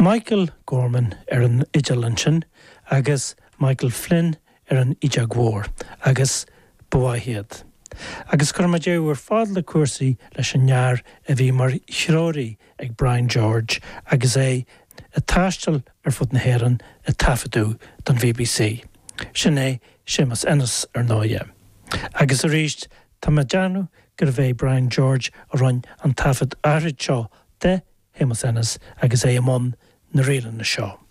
Michael Gorman ar an fhidil ansin agus Michael Flynn ar an fhidheog mhór agus ba mhaith iad. Agus cuirfidh mé deireadh ar fad le cúrsaí leis an fhear a bhí mar threoraí ag Brian George agus é ag taisteal ar fud na hÉireann ag taifeadadh don bbc. Sin é Séamus Ennis, ar ndóighe. Agus arís, tá mé ag déanamh gurbh é Brian George a rinne an taifead áithrid seo de Shéamus Ennis agus é i mbun na ríleanna seo.